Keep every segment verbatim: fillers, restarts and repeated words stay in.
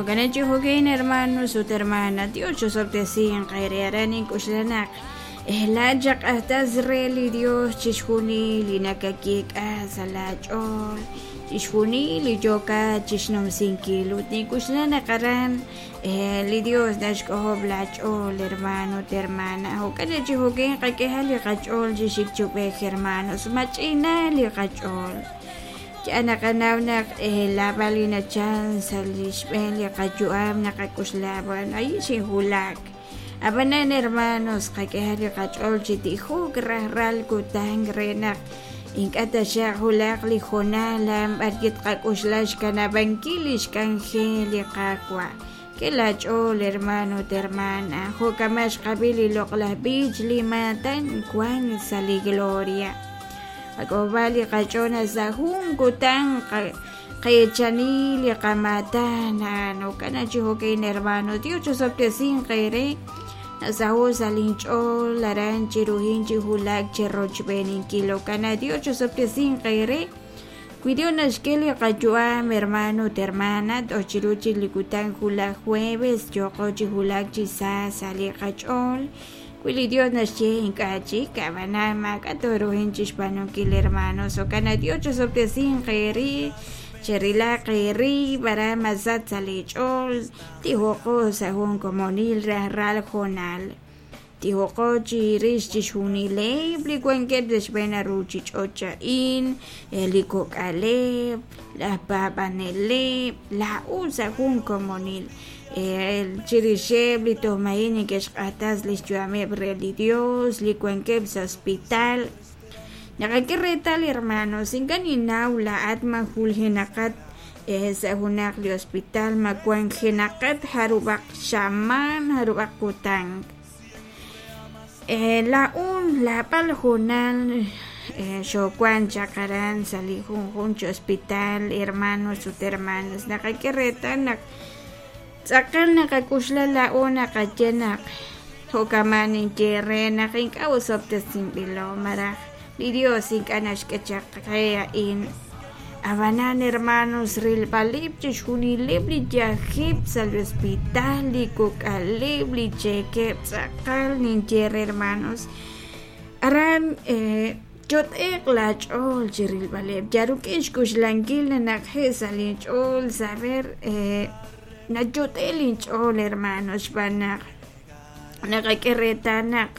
Jo'kan chi jo'kan hermanos ut hermana, Dios chosob'tesinq eere aran ink'uxlanaq laat xaq'ajtas re li Dios chixjunil li nakakik'a sa' laach'ool chixjunil li yookat chixnumsinkil ut nink'uxlanaq aran li Dios naxk'ojob' laach'ool hermano ut hermana. Jo'kan chi jo'kan qak'eha li qach'ool chixikchub'ej hermanos mach'ina li qach'ool. Ya naqanaw naq laab'al li nachal sa' li xb'een li qayu'am naqak'uxla bueno ahí xinjulak. Ab'anan hermanos qak'eha li qach'ool chi tijuk rajlal kutan re naq ink'a' taxaq julaq li jonal b'ar tqak'uxla xkanab'ankil li xk'anjel li Qaawa'. K'e laach'ool hermano ut hermana jo'kama xqab'i li loq'laj b'ich li maatan wan sa' li gloria. Qak'ob'a li qach'ool sa' jun kutan qeechani li qamatan jo'kan chi jo'kan hermano Dios chosob'tesinq eere nasaho sa' linch'ool aran chiruhin chi julak chirochb'eeninkil jo'kan Dios chosob'tesinq eere. Wi Dios naxk'e li qayu'am hermano ut hermana toj chiru chik li kutan julaj jueves yooqo chi julak chi sa sa' li qach'ool. Wi li Dios naxye ink'a' chik ab'anan maak'a' tooruhin chixb'aanunkil hermanos jo'kan Dios chosob'tesinq eere cherilaq eerib' aran masat sa' li ch'ool tijoqo sa' jun komonil rajlal jonal. Tijoqo chirix chixjunileb' li wankeb' sa' xb'een ruuchich'och' a'in li kok'aleb' laj paab'aneleb' laa'u sa' jun komonil chirixeb' li tojma'in neke'xq'atas li xyu'ameb' re li Dios li wankeb' sa' hospital. Naqak'e reetal hermanos ink'a' ninnaw laa'at ma juljenaqat sa' junaq li hospital ma wanjenaqat jarub'aq xamaan jarub'aq kutan. Laa'un laab'al jonal xowan chaq aran sa' li junjun chi hospital hermanos ut hermanas naqak'e reetal naq tz'aqal naqak'uxla laa'u naqaye naq jo'kaman ninye re naq ink'a' osob'tesinb'ilo malaj li Dios ink'a' naxk'e chaq qe a'in. Ab'anan hermanos rilb'aleb' chixjunileb' li yajeb' sa' li hospital li kok'aleb' li cheekeb' tz'aqal ninye re hermanos aran yot'eq laach'ool chi rilb'aleb' yaruk'in xk'uxlankil naq je' sa' linch'ool saber nayot'e linch'ool hermanos xb'aan naq naqak'e reetal naq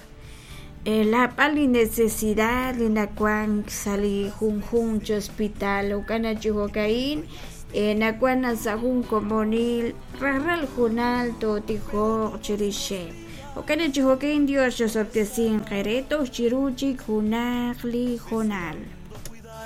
laab'al li necesidad li nawan sa' li junjun chi hospital jo'kan chi jo'ka'in nawan sa' jun komonil rajlal junal tootijoq chirixeb'. Jo'kan chi jo'ka'in Dios chosob'tesinq eere toj chiru chik junaq li jonal.